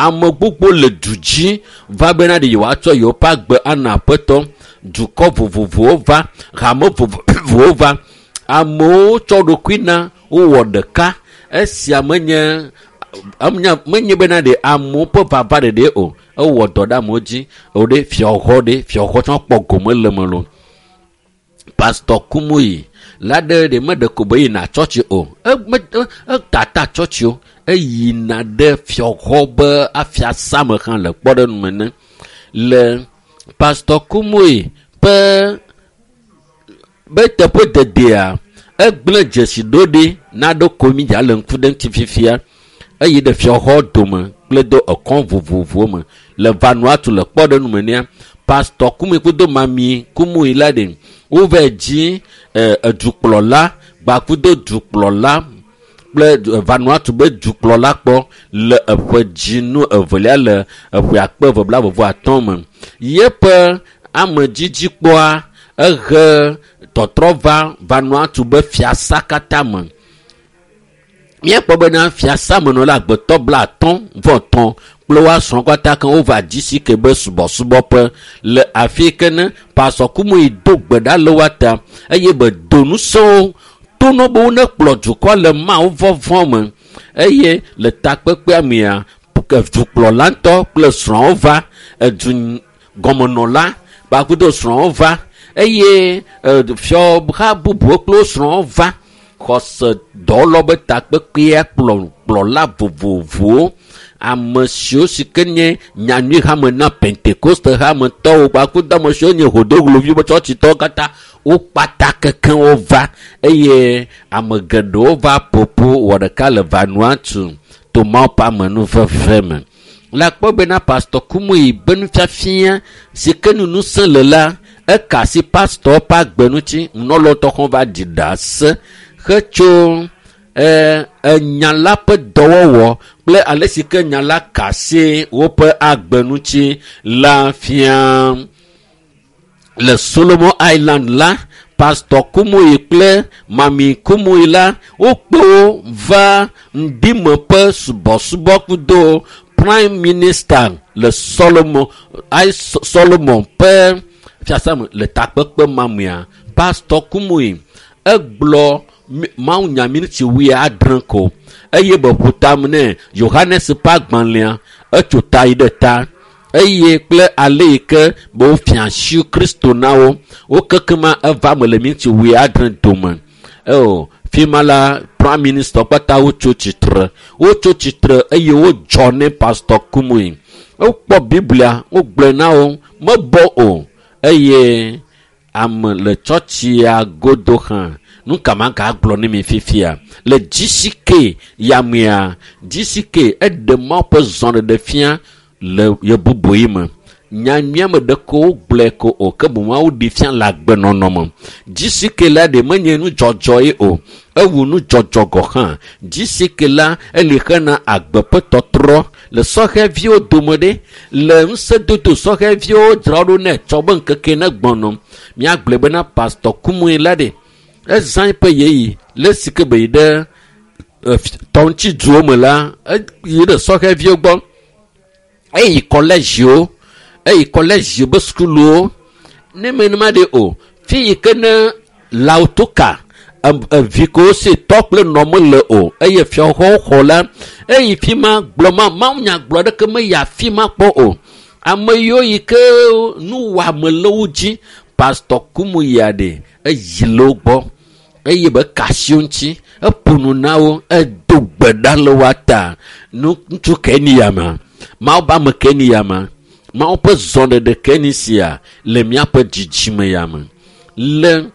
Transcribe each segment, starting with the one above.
Ame gbogbo le du dzi va bena ɖe yewoatsɔ yewoƒe agbe ana aƒetɔ. Dukɔ vovovowo va, hame vovovowo va. Amewo tsɔ ɖokui na wowɔ ɖeka. Esia menye menye bena ɖe amewo ƒe vava ɖeɖe o. Ewɔ dɔ ɖe amewo dzi. O ɖe fiaxɔ ɖe fiaxɔ tsã kpɔ gome le me lo. Pastor Kumuyi la ɖe ɖe meɖe ko be yina tsɔtsi o. Etata tsɔtsi o. Eyina ɖe fiaxɔ be afiasa me hã le kpɔɖeŋu me ne. Le Pastor Kumuyi ƒe be teƒe dedea, egblẽ dzesi ɖo ɖi na ɖo komi dza le ŋku ɖe ŋuti fifia. Eyi ɖe fiaxɔ dome kple do ekɔn vovovowo me. Le Vanuatu le kpɔɖeŋu me nea, Pastor Kumuyi kudo Mami Kumuyi la ɖe wova dzi edukplɔla gbakudo dukplɔla kple Vanuatu be dukplɔla kpɔ le eƒe dzinu evelia le eƒe akpe eve bla vovo atɔ̃ me. Yeƒe amedzidzi kpɔa ehe tɔtrɔ va Vanuatu be fiasa katã me. Míakpɔ bena fiasa menɔla agbetɔ bla atɔ̃ vɔ tɔ̃ kple woa srɔ̃ katã ke wova GCK be subɔsubɔƒe le afi yi ke ne Pastor Kumuyi do gbe ɖa le woa ta eye be do ŋusẽwo to no be wonekplɔ dukɔ le Mawu vɔvɔ̃ me. Eye le takpekpea mea, dukplɔla ŋutɔ kple srɔ̃wo va, edu gɔmenɔla kpakudo srɔ̃wo va eye fiaha bubuwo kple wo srɔ̃wo va. Xɔse dɔwɔlawo be takpekpea kplɔla vovovowo, ame siwo si ke nye nyanyui hame na Pentekoste hametɔwo kpakudo ame siwo nye hodogloviwo be tsɔtsitɔwo katã wo kpata kekeŋ wova eye ame geɖewo va ƒoƒu wɔ ɖeka le Vanuatu to Mawu ƒe amenuveve me. Le akpɔ bena Pastor Kumuyi be nufiafia si ke nu ŋusẽ le la, eka asi pastor ƒe agbe ŋuti. Nunɔlawo tɔ hã va ɖi ɖase hetso enya la ƒe dɔwɔwɔ kple ale si ke nya la ka asi woƒe agbe ŋuti la fia. Le Solomon Island la, Pastor Kumuyi kple Mami Kumuyi la wokpe wo va ŋdime ƒe subɔsubɔ kudo Prime Minister le Solomon Solomon ƒe fiasa me le takpekpe ma mea. Pastor Kumuyi egblɔ mawunya miniti wuiadre ko eye be ƒo tame nɛ Yohanes ƒe agbalẽa etso ta yi ɖe ta eye kple ale yi ke be wofia asi Kristo na wo. Wo kekema eva me le miniti wuiadre dome. Eo fi ma la Prime Minister kpata wotso tsitre. Wotso tsitre eye wodzɔ ne Pastor Kumuyi. Wokpɔ Biblia, wogblɔe na wo, mebɔ o eye ame le tsɔtsia godo hã. Nu ka magagblɔ ne mi fifia? Le GCK yamea, GCK eɖe Mawu ƒe zɔɖeɖe fia le yebubuyi me. Nyanyuia me ɖeko wogblɔe ko o, ke boŋ Mawu ɖi fia le agbenɔnɔ me. GCK la ɖe menye nudzɔdzɔ ye o, ewu nudzɔdzɔ gɔ hã. GCK la eli hena agbe ƒe tɔtrɔ le sɔhɛviwo dome ɖe, le ŋusẽdodo sɔhɛviwo dzra ɖo nɛ tsɔ be ŋkeke ne gbɔnɔ. Míagblɔe bena Pastor Kumuyi la ɖe, ezã eƒe ɣeyiɣi le esi ke be yi ɖe tɔŋutiduwo me la, eyi ɖe sɔhɛviwo gbɔ. Eyi kɔlɛdziwo, eyi kɔlɛdziwo be sukuluwo. Ne menema ɖe o, fi yi ke ne Lautoka evi ko si tɔ kple nɔ mele o eye fiaxɔwo xɔ la, eyi fi ma gblɔ ma mawunya gblɔ ɖeke meyi afi ma kpɔ o. Ame yiwo yi ke nuwɔame le wo dzi, Pastor Kumuyi ɖe eyi le wo gbɔ eye be ka asi wo ŋuti, eƒo nu na wo, edo gbe ɖa le woa ta. Nu ŋutsu ke ni ya ma, Mawu ƒe ame ke ni ya ma, Mawu ƒe zɔɖeɖe ke ni sia le míaƒe dzidzime ya me. Le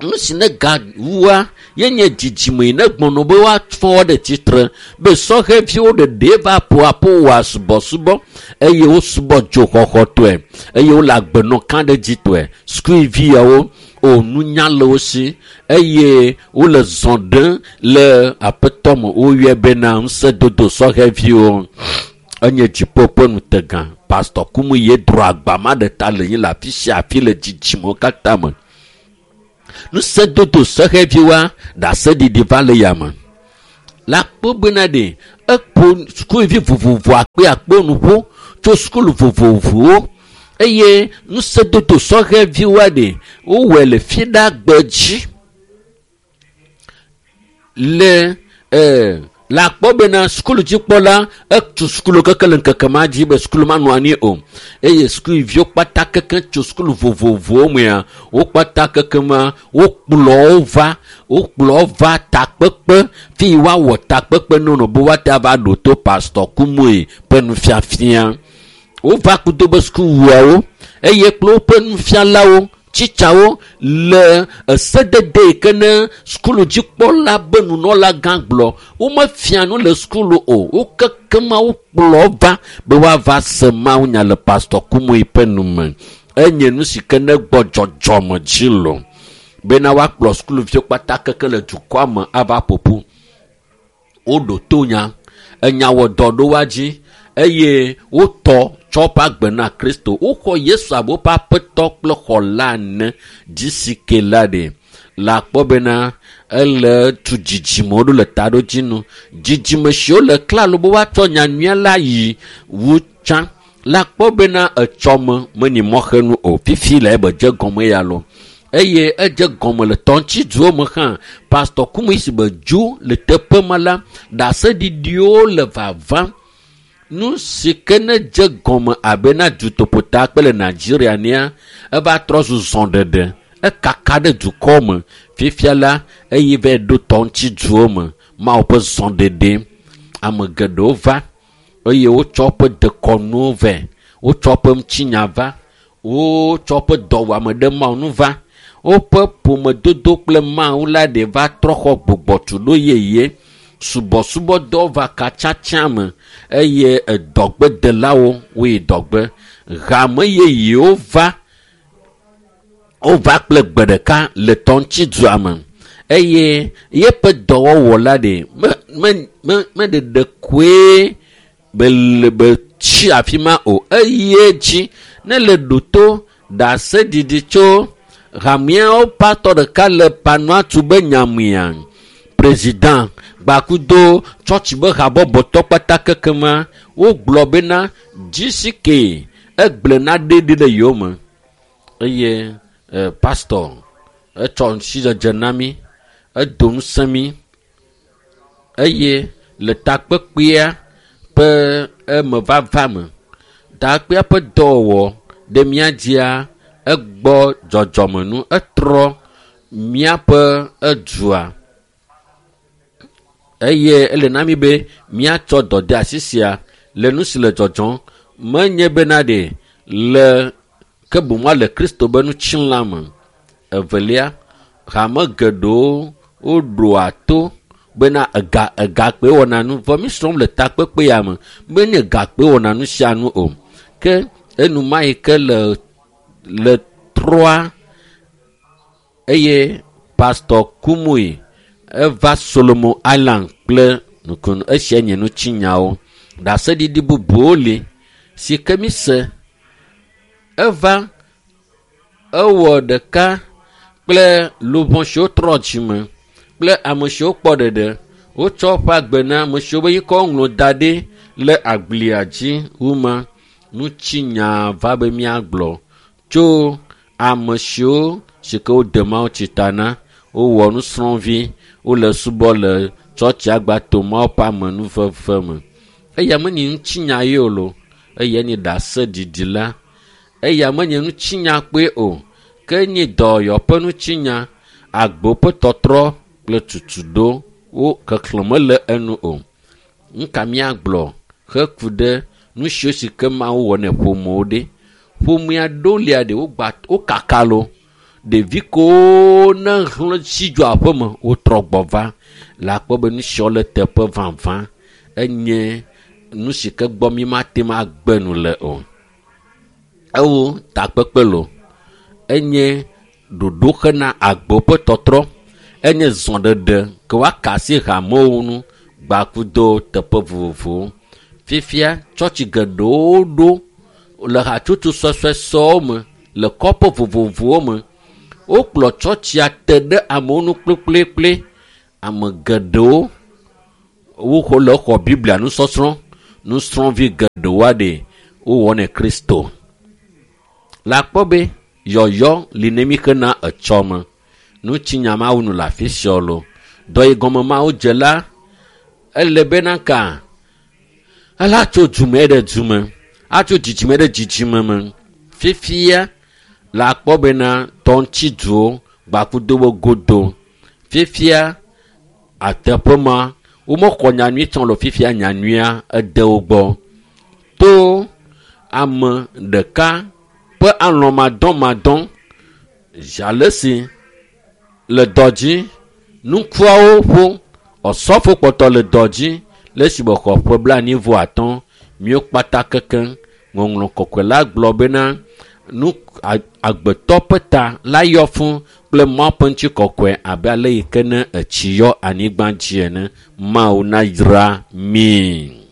nu si ne gawua ye nye dzidzime yi ne gbɔnɔ be woafɔ wo ɖe tsitre be sɔhɛviwo ɖeɖe va ƒo aƒo wɔa subɔsubɔ eye wosubɔ dzoxɔxɔtɔe eye wole agbenɔ kã ɖe dzitɔe. Sukuviawo o nunya le wo si eye wole zɔ ɖem le aƒetɔ me. Woyɔe bena ŋusẽdodo sɔhɛviwo. Enye dziƒo ƒe ŋutegã. Pastor Kumuyi ye dro agba ma ɖe ta le nyi le afi sia afi le dzidzimewo katã me. Ŋusẽdodo sɔhɛviwoa, ɖaseɖiɖi va le yame. Le akpɔ bena ɖe Eƒo sukuvi vovovo akpe akpe nu ƒo tso sukulu vovovowo eye ŋusẽdodo sɔhɛviwoa ɖe wowɔe le fiɖagbe dzi le le akpɔ bena sukulu dzikpɔla etu sukulu keke le ŋkeke ma dzi be sukulu manɔ anyi o eye sukuviwo kpata keke tso sukulu vovovowo mea wo kpata keke ma wokplɔ wo va takpekpe fi woawɔ takpekpe nono be woate ava ɖo to pastor Kumuyi ƒe nufiafia. Wova kudo be sukuwuawo eye kple woƒe nufialawo tsitsawo le esedede yi ke ne sukulu dzikpɔla be nunɔla gã gblɔ womefia nu le sukulu o wo kekema wokplɔ va be woava se mawunya le pastor Kumuyi ƒe nume. Enye nu si ke ne gbɔ dzɔdzɔme dzi lo bena woakplɔ sukuluviwo kpata keke le dukɔa me ava ƒoƒu. Woɖo to nya enya wɔ dɔ ɖo woa dzi eye wotɔ tsɔ woƒe agbe na Kristo. Woxɔ Yesu abe woƒe aƒetɔ kple xɔla ene GCK la ɖe le akpɔ bena ele tu dzidzimewo ɖo le taɖodzinu. Dzidzime siwo le klalo be woatsɔ nyanyuia la yi wu tsã le akpɔ bena etsɔme menyi mɔxenu o. Fifi le ebe dze gɔme ya lo eye edze gɔme le tɔŋtsiduwo me hã. Pastor Kumuyi si be dzo le teƒe ma la ɖaseɖiɖiwo le vavam. Nu si ke ne dze gɔme abe na dutoƒota kple le Nigeria nea eva trɔ zu zɔɖeɖe ekaka ɖe dukɔ me. Fifia la eye va ɖo tɔŋtsiduwo me Mawu ƒe zɔɖeɖe. Ame geɖewo va eye wotsɔ woƒe dekɔnuwo vɛ, wotsɔ woƒe ŋutinya va, wotsɔ woƒe dɔwɔame ɖe Mawu nu va. Woƒe ƒomedodo kple Mawu la ɖe va trɔ xɔ gbugbɔtuɖo yeye. Subɔsubɔdɔ va katsatsa me eye edɔgbedelawo woyi dɔgbe. Hame yeyewo va wova kple gbe ɖeka le tɔŋtsidua me eye yeƒe dɔwɔwɔ la ɖe meɖeɖe koe be be tsi afi ma o. Eye dzi ne le ɖoto ɖaseɖiɖi tso hameawo patɔ ɖeka le Vanuatu be nyamea président gbakudo tsɔtsi be habɔbɔtɔ kpata keke ma wogblɔ bena GCK egblẽ naɖe ɖi le yewo me eye pastor etsɔ ŋutsidzedze na mí, edo ŋusẽ mí eye le takpekpea ƒe emevava me takpekpea ƒe dɔwɔwɔ ɖe mía dzia egbɔ dzɔdzɔme nu etrɔ míaƒe edua eye ele na mí be míatsɔ dɔdeasi sia le nu si le dzɔdzɔm menye bena ɖe le ke boŋ le Kristo be ŋutilã me. Evelia, hame geɖewo woɖoa to bena egakpe wɔna nu vɔ mi srɔ̃m le takpekpe ya me menye gakpe wɔna nu sia nu o. Ke enuma yi ke le trɔa eye Pastor Kumuyi eva Solomon Island kple nukunu. Esia nye ŋutinyawo. Ɖaseɖiɖi bubuwo li si ke mi se. Eva ewɔ ɖeka kple luʋɔ siwo trɔ dzime kple ame siwo kpɔ ɖeɖe. Wotsɔ woƒe agbe na ame siwo be yikɔ ŋlɔ da ɖi le agblia dzi wu ma. Ŋutinya va be míagblɔ tso ame siwo si ke wode mawutsi ta na wowɔ nusrɔ̃vi wole subɔ le tsɔtsi agbato Mawu ƒe amenuveve me. Eya menye ŋutinya ye o lo, eya nye ɖaseɖiɖi la. Eya menye ŋutinya kpoe o, ke nye dɔyɔƒe ŋutinya, agbo ƒe tɔtrɔ kple tutuɖo wo keklẽ mele enu o. Nuka míagblɔ heku ɖe nu siwo si ke Mawu wɔ ne ƒomewo ɖe. Ƒomea ɖewo lia ɖe wogba wokaka lo. Ɖevi kewo ne hlẽ tsi dzo aƒeme wotrɔ gbɔ va le akpɔ be nu siawo le teƒe vavã enye nu si ke gbɔ mi mate ŋu agbe nu le o. Ewo takpekpe lo enye ɖoɖo hena agbo ƒe tɔtrɔ enye zɔɖeɖe ke woaka asi hamewo ŋu gbakudo teƒe vovovowo. Fifia tsɔtsi geɖewo ɖo le hatsotso sɔsɔesɔwo me le kɔƒe vovovowo me. Wokplɔ tsɔtsia te ɖe amewo ŋu kplikplikpli. Ame geɖewo Woxɔ le xɔ Biblia nusɔsrɔ̃. Nusrɔ̃vi geɖewoa ɖe wowɔnɛ Kristo. Le akpɔ be yɔyɔ li ne mi xena etsɔme. Nutsinya mawu nu le afi sia lo. Dɔ yi gɔme mawu dze la, ele bena ka ela tso dume ɖe dume, atso dzidzime ɖe dzidzime me. Fifia le akpɔ bena tɔŋtsiduwo gbakudo wo godo. Fifia ateƒe ma womexɔ nyanyui tsã le fifia nyanyuia ede wo gbɔ. To ame ɖeka ƒe alɔmadɔmadɔ ale si le dɔ dzi nukuawo ƒo ɔsɔfo kpɔtɔ le dɔ dzi le esime xɔ ƒe blaenyi vɔ atɔ̃ míwo kpata kekeŋ ŋɔŋlɔ kɔkɔe la gblɔ bena nu agbetɔ ƒe ta la yɔ fũ kple Mawu ƒe ŋutikɔkɔe abe ale yi ke ne etsi yɔ anyigba dzi ene. Mawu nayra mi.